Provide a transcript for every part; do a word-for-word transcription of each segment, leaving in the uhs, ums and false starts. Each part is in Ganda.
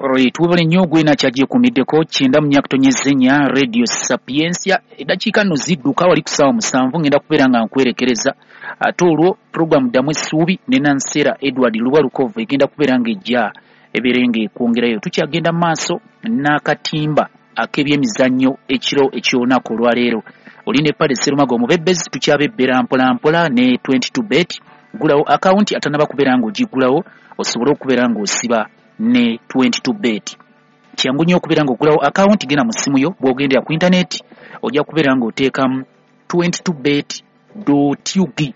Tuwebale nnyo gwena kyagyekuumiddeko kyenda mu nyakutonyeza ennya Radio Sapientia. Eddakiika nno zidduka, wali ku ssaawa musanvu ngenda kubeera nga nkwerekereza. Ate olwo puroguramu Ddamu Essuubi ne Nansera Edward Luba Lukovu egenda kubeera ng'ejja ebeere ng'ekwongerayo. Tukyagenda mu maaso n'akatimba ak'ebyemizannyo ekiro eky'olunaku olwaleero. Oli ne Pale Serumaga omubebbezi, tukyabebbera mpola mpola ne twenty-two bet. Gulawo akawunti atannaba kubeera ng'ogiggulawo osobole okubeera ng'osiba ne twenty-two bet. Kyangu nnyo okubeera ng'ogulawo akawunti, genda mu ssimu yo, bw'ogendera ku intaneti ojja kubeera ng'oteekamu twenty-two bet dot U G.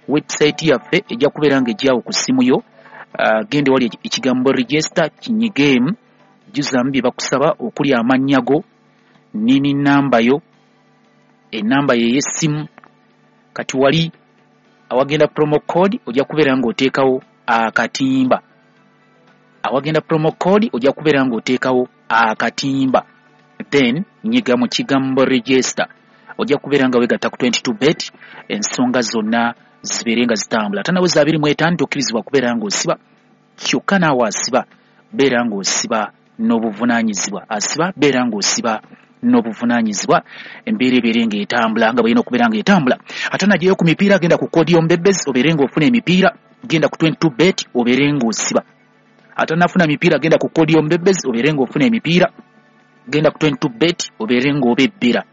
Website yaffe ejja kubeera ng'ejjawo ku ssimu yo. Uh, genda wali ekigambo register kinyigeemu, jjuzaamu bye bakusaba okuli amannya go, nini namba yo, enamba ye ey'essimu. Kati wali awagenda promo code ojja kubeera ng'oteekawo akatimba. Awagenda promo code ojja kubeera ng'oteekawo akatimba, then nyiga mu kigambo register, ojja kubeera nga weegatta ku twenty-two bet, ensonga zonna zibeere nga zitambula. Ate nawe za abiri mu etaano tokkirizibwa kubeera ng'osiba, kyokka naawe asiba beera ng'osiba n'obuvunaanyizibwa, asiba beera ng'osiba n'obuvunaanyizibwa, embeera ebeere ng'etambula nga bw'erina okubeera ng'etambula. Ate naggyeyo ku mipiira, genda ku koodi y'omubebbezi obeere ng'ofuna emipiira, genda ku twenty-two bet obeere ng'osiba. Ate nafuna mipiira, genda ku koodi y'omubebbezi obeere ng'ofuna emipiira, genda ku twenty-two bet obeere ng'obebbera.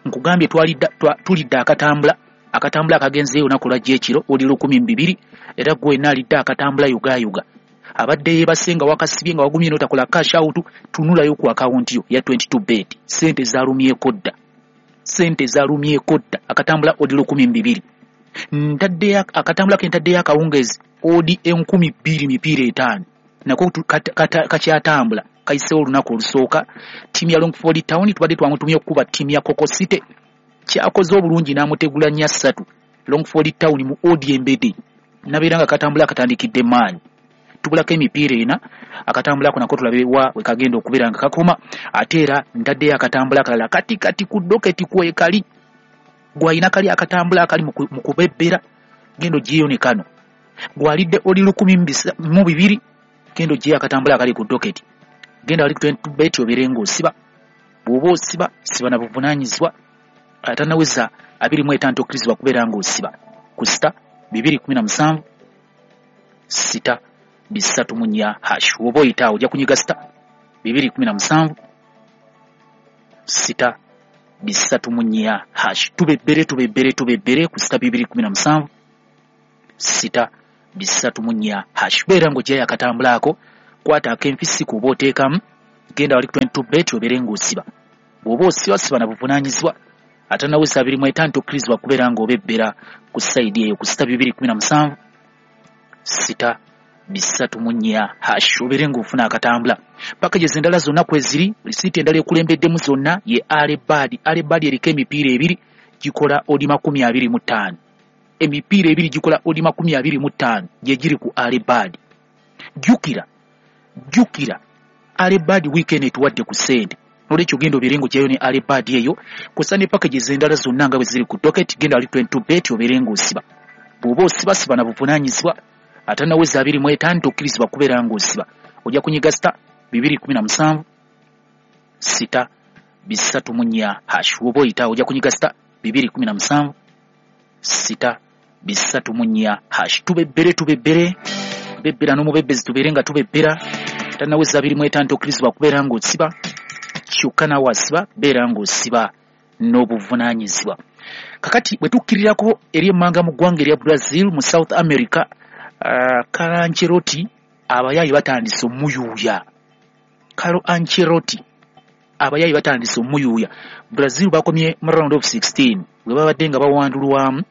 Nkugambye tulidde akatambula, akatambula akagenzeeyo olunaku lwajja ekiro oli lukumi mu bibiri, era gwe wenna alidde akatambula yugayuga. Abadde yeebase nga wakasibye nga wagumye n'otakola cash out, tunulayo ku akawunti yo ya twenty-two bet. Ssente zaalumyeko dda, ssente zaalumyeko dda. Akatambula odi lukumi mu bibiri, ntaddeyo akatambula ke ntaddeyo akawungeezi odi enkumi bbiri mipiira etaano, nako kakyatambula kayiseewo olunaku olusooka. Ttiimu ya Longford Town tubadde twamutumye okukuba ttiimu ya Coco City, kyakoze obulungi n'amutegula nnya ssatu. Longford Town mu odi embede nabeera nga katambula katandikidde maanyi. Tubulako emipiira ena, akatambula ako nako tulabe wa we kagenda okubeera nga kakoma. Ate era ntaddeyo akatambula akalala kati kati ku doketi kwekali, gwalina kali akatambula akali mu kubebbera, genda oggyeyo ne kano. Gwalidde oli lukumi mu bibiri, genda oggyeyo akatambula akali ku doketi, genda wali ku twenty-two bet obeere ng'osiba. Bw'oba osiba siba na buvunaanyizibwa. Atannaweza abiri mu etaano tokkirizibwa kubeera ng'osiba ku sita bibiri kumi na musanvu sita bisatu mu nnya hash. Woba oyita awo ojja kunyiga sita bibiri kumi na musanvu sita bisatu mu nnya hash. Tubebbere tubebbere tubebbere ku sita bibiri kumi na musanvu sita bisatu mu nnya hash. Beera ng'oggyayo akatambula ako, kwata ak'enfisi kuba oteekamu, genda wali ku twenty-two bet obeere ng'osiba. Bw'oba osiba siba na buvunaanyizibwa. Ate naweza abiri mu etaano tokkirizibwa kubeera ng'obebbera ku sayidi eyo ku sita bibiri kumi na musanvu sita bisatu mu nnya hash, obeere ng'ofuna akatambula. Packages endala zonna kweziri, risiiti endala ekulembeddemu zonna ye Alebad. Alebad eriko emipiira ebiri gikola odi makumi abiri mu ttaano, emipiira ebiri gikola odi makumi abiri mu ttaano gye giri ku Alebad. Jjukira jjukira Alebad weekend etuwadde ku ssente, nolwekyo genda obeere ng'oggyayo ne Alebad eyo kw'ossa ne packages endala zonna nga bwe ziri ku docket. Genda wali twenty-two bet obeere ng'osiba. Bw'oba osiba siba na buvunaanyizibwa. Ate naweza abiri mu etaano tokkirizibwa kubeera ng'osiba, ojja kunyiga sita bibiri kumi na musanvu sita bisatu mu nnya hash. Woba oyita ojja kunyiga sita bibiri kumi na musanvu sita bisatu mu nnya hash. Tubebbere tubebbere bebbera n'omubebbezi tubeere nga tubebbera. Tanaweza abiri mu etaano tokkirizibwa kubeera ng'osiba, kyokka naawe asiba beera ng'osiba n'obuvunaanyizibwa. Kakati bwe tukkirirako eri emmanga mu ggwanga erya Brazil mu South America, Uh, Carlo Ancelotti abayaayi batandise omuyuuya. Carlo Ancelotti abayaayi batandise omuyuuya. Brazil bakomye mu round of sixteen bwe babadde nga bawandulwamu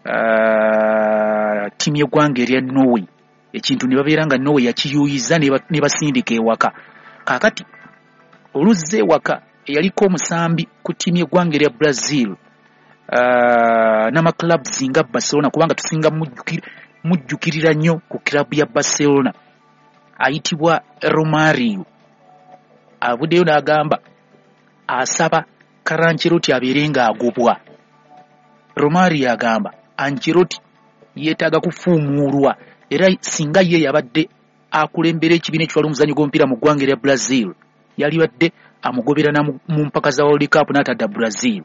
uh, ttiimu y'eggwanga erya Norway, ekintu ne babeera nga Norway yakiyuuyiza ne basindika ewaka. Kaakati oluzza ewaka eyaliko omusambi ku ttiimu y'eggwanga erya Brazil uh, n'amaclubs nga Barcelona, kubanga tusinga mujjukira mujjukirira nnyo ku kilabu ya Barcelona, ayitibwa Romario, avuddeyo n'agamba asaba Carlo Ancelotti abeere ng'agobwa. Romario agamba Ancelotti yeetaaga kufuumuulwa, era singa ye yabadde Akulembera ekibiina ekitwala omuzannyo gw'omupiira mu ggwanga erya Brazil. Yalibadde amugobera mu mpaka za World Cup n'atadda Brazil.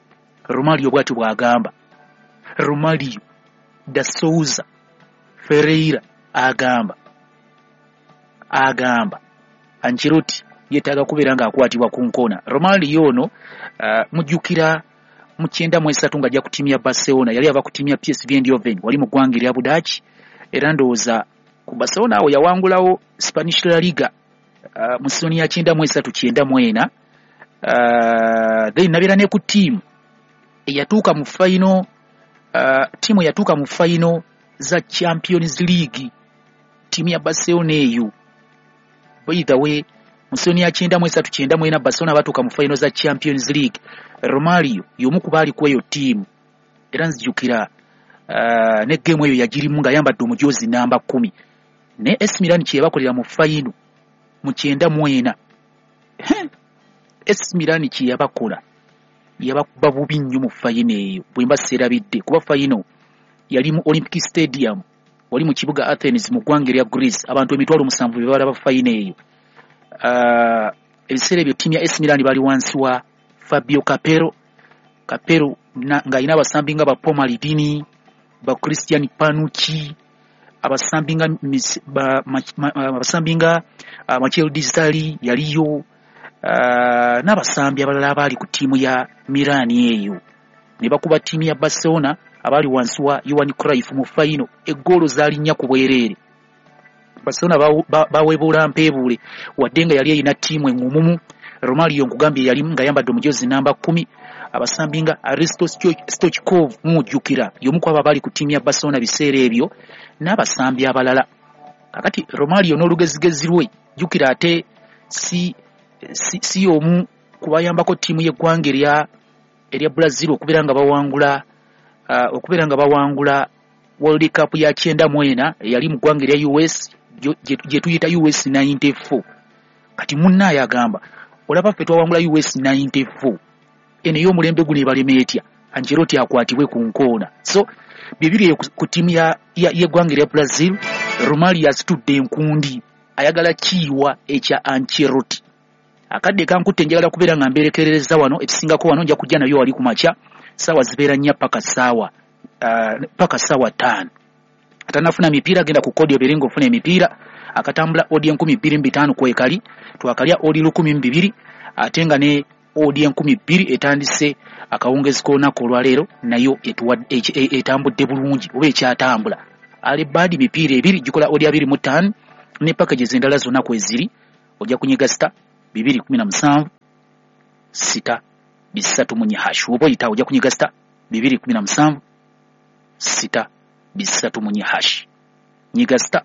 Romario bw'atyo bw'agamba. Romario da Souza Ferreira agamba agamba Ancelotti yeetaaga kubeera ng'akwatibwa ku nkona. Romario ono uh, mujjukira mu kyenda mu esatu ng'ajja ku ttiimu ya Barcelona, yali ava ku ttiimu ya P S V Eindhoven wali mu ggwanga erya Budaaki, era ndowooza ku Barcelona awo yawangulawo Spanish La Liga uh, mu sizoni ya kyenda mu esatu kyenda mu ena. Uh, then nabeera ne ku ttiimu eyatuuka mu final, uh, ttiimu eyatuuka mu final za Champions League, ttiimu ya Barcelona eyo. By the way, mu sizoni ya kyenda mu esatu kyenda mu ena Barcelona batuuka mu final za Champions League. Romario y'omu ku baali ku eyo ttiimu, era nzijukira uh, ne geemu eyo yagirimu ng'ayambadde omujoozi namba kkumi. Ne A C Milan kye yabakolera mu final mu kyenda mu ena, A C Milan kye yabakola yabakuba bubi nnyo mu final eyo, bwe mba seerabidde, kuba final yali mu Olympic Stadium wali mu kibuga Athens mu ggwanga erya Greece, abantu emitwalo musanvu be balaba final eyo. Uh, ebiseera ebyo ttiimu ya A C Milan bali wansi wa Fabio Capello. Capello ng'alina abasambi nga ba Paul Maldini, ba Christian Panucci, abasambi nga abasambi nga uh, Michel Desailly yaliyo, uh, n'abasambi abalala abaali ku ttiimu ya Milan eyo. Ne bakuba ttiimu ya Barcelona abaali wansi wa Johan Cruyff mu final, eggoolo zaali nnya ku bwereere. Barcelona baweebuula mpeebuule, wadde nga yali erina ttiimu eŋŋumumu. Romario nkugambye yali ng'ayambadde omujoozi namba kkumi. Abasambi nga Aristo Stoichkov mujjukira, y'omu ku abo abaali ku ttiimu ya Barcelona biseera ebyo, n'abasambi abalala. Kakati Romario n'olugezigezi lwe, jjukira ate si si, si omu kubayambako ttiimu y'eggwanga erya erya Brazil okubeera nga bawangula uh, okubeera nga bawangula World Cup ya kyenda mu ena eyali mu ggwanga erya U S gye tuyita U S ninety-four. Kati munnaaye agamba olaba ffe twawangula U S ninety-four, eno ey'omulembe guno ebalema etya? Ancelotti akwatibwe ku nkoona. So bibiri ku ttiimu y'eggwanga erya Brazil, Romario asitudde enkundi, ayagala kiyiwa ekya Ancelotti. Akadde kankutte njagala kubeera nga mbeerekerereza wano, ekisingako wano nja kujja nayo wali ku makya, ssaawa zibeera nnya paka ssaawa uh, paka ssaawa ttaano. Atanafuna mipiira genda ku kodi obeere ng'ofuna emipiira. Akatambula odi enkumi bbiri mu bitaano kwekali, twakalya odi lukumi mu bibiri, ate nga ne odi enkumi bbiri etandise akawungezi k'olunaku olwaleero nayo etambudde bulungi oba ekyatambula. Alibadi mipiira ebiri gikola odi abiri mu ttaano ne packages endala zonna kweziri, ojja kunyiga sita bibiri kumi na musanvu sita bisatu mu nnya hash, oba oyita ojja kunyiga sita bibiri kumi na musanvu sita bisatu mu nnya hash, nyiga sita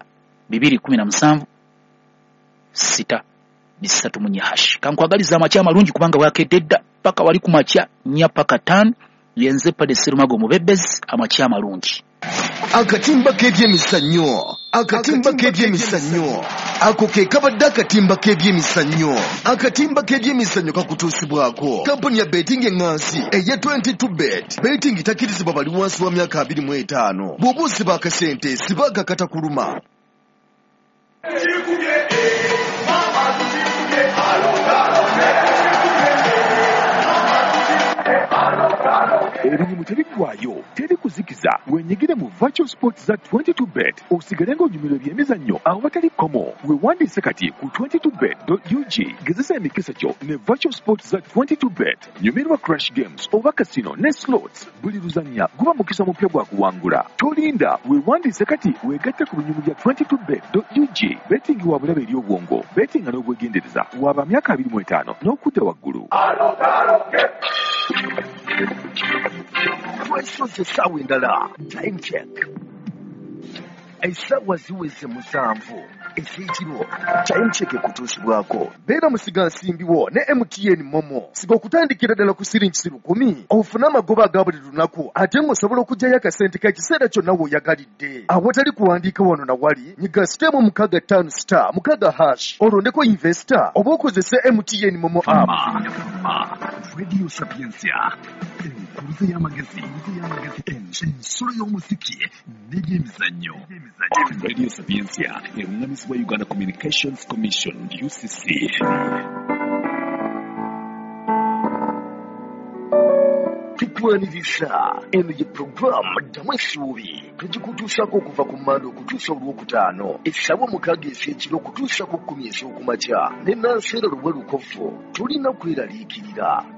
bibiri kumi na musanvu sita bisatu mu nnya hash. Kankwagaliza amakya amalungi kubanga bwakedde dda paka wali ku makya nnya paka ttaano. Yenze Padde Serumago Mubebezi, amakya amalungi. Akatimba k'ebyemizannyo, akatimba k'ebyemizannyo, ako ke kabadde akatimba k'ebyemizannyo. Akatimba k'ebyemizannyo kakutuusibwako kampuni ya betting eŋŋansi eya twenty-two bet. Betting takkirizibwa bali wansi wa myaka abiri mu etaano. Bw'oba osiba akasente siba akakatakuluma. Ebinyumu tebiggwayo, teri kuzikiza. Wenyigire mu virtual sports za twenty-two bet osigale ng'onyumirwa ebyemizannyo awatali kkomo. Weewandiise kati ku twenty-two bet dot U G. Gezesa emikisa gyo ne virtual sports za twenty-two bet. Nyumirwa crash games oba casino ne slots. Buli luzannya guba mukisa mupya gwa kuwangula. Tolinda, weewandiise kati weegatte ku binyumu bya twenty-two bet dot U G. Betting wa bulabe eri obwongo, betting n'obwegendereza. Waba myaka abiri mu etaano n'okudda waggulu. Twesoze essaawa endala, time check. Essaawa ziweze musanvu ez'ekiro, time check ekutuusibwako. Beera musigansimbi wo ne M T N Momo. Siga okutandikira ddala ku siringi lukumi, ofune amagoba aga buli lunaku, ate ng'osobola okuggyayo akasente k'ekiseera kyonna w'oyagalidde. Awatali kuwandiika wano na wali, nyiga sitemu mukaaga ttaano star mukaaga hash, olondeko investor oba okozese M T N Momo app. Radio Sapientia. Enkuluze y'amagezi, ensolo y'omuziki n'ebyemizannyo. Radio Sapientia erungamizibwa Uganda Communications Commission, U C C. Tukwaniriza eno ye puroguramu Ddamu Essuubi, tugikutuusaako okuva ku Mmande okutuusa Olwokutaano essaawa mukaaga ez'ekiro okutuusa ku kkumi ez'okumakya ne Nanseera Luwe Lukofu. Tulina kweraliikirira.